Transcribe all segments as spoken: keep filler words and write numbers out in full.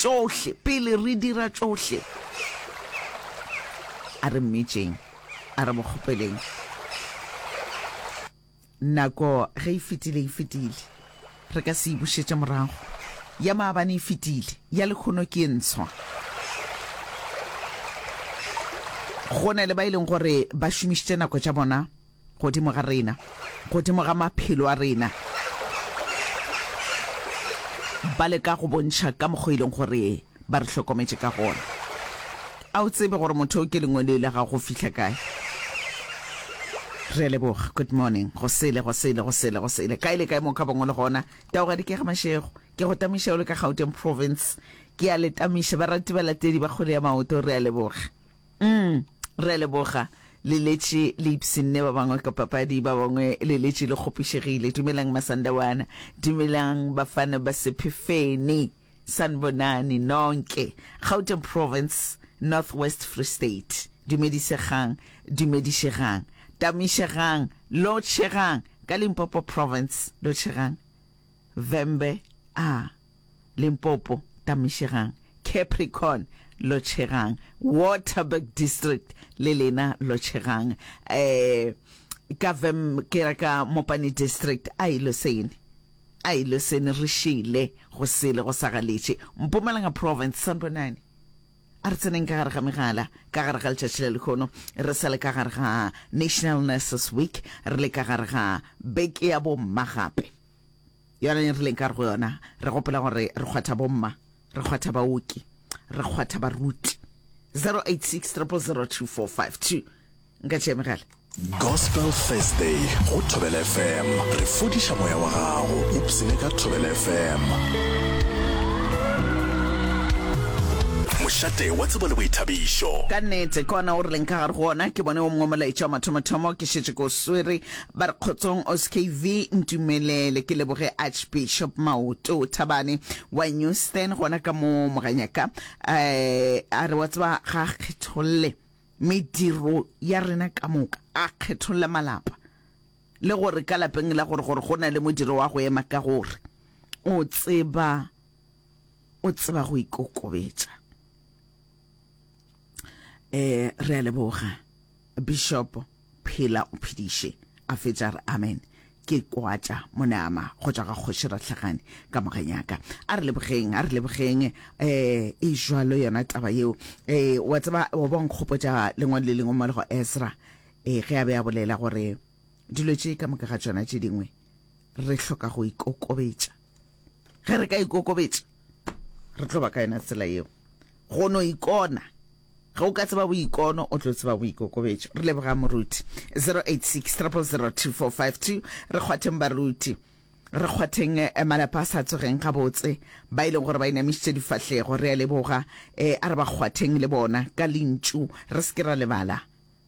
tšohle, pele re dira tšohle, a re mmitšeng, a re mo kgopeleng. Nako ge e fetile, e fetile. Re ka se e bušetše morago. Ya maabane e fetile, ya lekhono ke e ntshwa. Go na le ba e leng gore ba šomišitše nako tša bona godimo ga rena, godimo ga maphelo a rena, ba leka go bontšha ka mokgwa e leng gore ba re hlokometše ka gona. A o tsebe gore motho o ke lengwele la gago go fihla kae? Re a leboga. Good morning. Go sele, go sele, go sele, go sele. Kae le kae mo ka bangwe le gona. Taogadi ke ga Mashego. Ke go tamiša o le ka Gauteng Province. Ke a le tamiša barati balatedi ba kgwele ya maoto. Re a leboga. Mm, re a leboga. Le letše le ipshinne ba bangwe ka papadi, ba bangwe le letše le kgopišegile. Dumelang Masandawana. Dumelang bafana ba Sephefeni. Sanibonani nonke. Gauteng Province, North West Free State. Dumedisegang, dumedišegang. Tamišegang, lotšhegang. Ka Limpopo Province, lotšhegang. Vhembe, a. Limpopo, tamišegang. Capricorn, lotšhegang. Waterberg District, le lena lotšhegang. Eh, ka Vhem, ke ra ka Mopani District, a ilosene. A ilosene re šele go sele go sa galetše. Mpumalanga Province, sanibonani. A re tseneng ka gare ga megala ka gare ga letšatši la lehono. Re sa le ka gare ga National Nurses Week, re le ka gare ga beke ya bomma gape. Yona re leng ka gare go yona, re gopola gore re kgwatha bomma, re kgwatha baoki, re kgwatha baruti. zero eight six triple zero two four five two. Nka tšea megala. Gospel Thursday go Thobela F M. Re fodiša moya wa gago. Ipsene ka Thobela F M. Mošate wa tsebo le boithabišo. Ka nnete, ke ona o re leng ka gare go ona. Ke bone o mongwe molaetša wa mathomothomo, ke šetše ke o swere. Ba re kgotsong O S K V, ntumelele ke leboge Archbishop Maoto Thabane wa Newstan gona ka mo Moganyaka. Eh, a re wa tseba ga a kgetholle mediro ya rena ka moka, a kgetholle malapa le gore ka lapeng la gore gore go na le modiro wa go ema ka gore o tseba, o tseba go ikokobetša. Eh, re a leboga Bishop, phela o phediše. A fetša re amen. Ke kwatša monama go tšwa ga kgoši Rahlagane ka Moganyaka. A re lebogeng, a re lebogeng. Eh, e jwalo yona taba yeo. Eh, wa tseba, wa bo nkgopotša lengwalo le lengwe mo le go Ezra. Eh, ge a be a bolela gore dilo tše ka moka ga tšona tše dingwe re hloka go ikokobetša. Ge re ka ikokobetša, re tlo ba ka yona tsela yeo. Go no ikona. Ge o ka tseba boikono, o tlo tseba boikokobetšo. Re leboga moruti. zero eight six triple zero two four five two. Re kgwatheng baruti. Re kgwatheng, eh, malapa a sa tsogeng gabotse, ba e leng gore ba inamišitše difahlego. Re a leboga. Eh, a re ba kgwatheng le bona ka lentšu. Re se ke ra lebala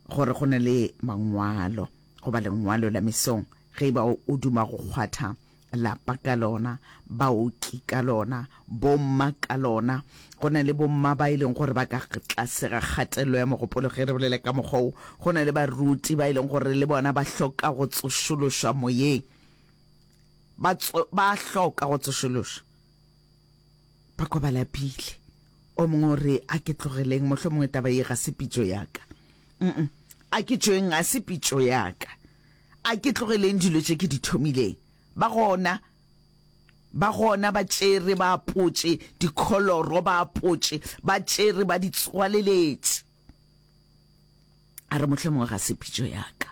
gore go na le mangwalo goba lengwalo la mesong. Ge e ba o duma go kgwatha lapa ka lona, baoki ka lona, bomma ka lona. Go na le bomma ba e leng gore ba ka tlase ga kgatelelo ya mogopolo ge re bolela ka mokgwa wo. Go na le baruti ba e leng gore le bona ba hloka go tsošološwa moyeng. Ba tso-, ba hloka go tsošološwa. Ba kwa ba lapile. O mongwe o re, a ke tlogeleng, mohlomongwe taba ye ga se pitšo ya ka. Mm-mm. A ke tšweng, ga se pitšo ya ka. A ke tlogeleng dilo tše ke di thomileng. Ba gona, ba gona ba tšere ba apotše dikholoro, ba apotše, ba tšere ba di tswaleletše. A re mohlomongwe ga se pitšo ya ka.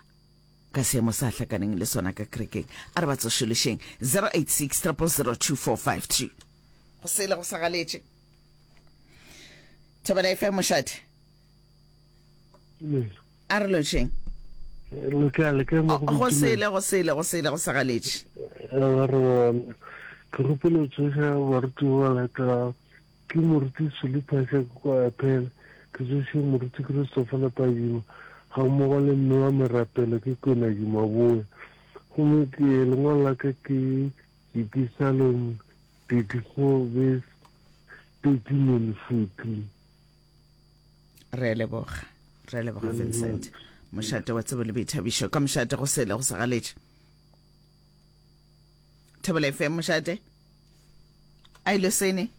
Ka seemo sa hlakaneng le sona ka kerekeng. A re ba tsošološeng. zero eight six triple zero two four five two. Go sele go sa galetše. Thobela F M mošate. A re lotšheng. Le kae, le kae mo go Go sele, go sele, go sele, go sa galetše. Re ke gopela tsoša baruti ba latelago. Ke moruti Filippus kwa Apele, ke tsoše moruti Christopher Lepadimo, ga mmogo le mme wa merapelo ke Kwenadi Maboe. Gomme ke lengwalo la ka ke Dipisalom thirty-four verse thirteen and fourteen. Re a leboga, re a leboga Vincent. Mošate wa tsebo le boithabišo. Ka mošate go sele go sa galetše. Thobela F M mošate. A ile sene.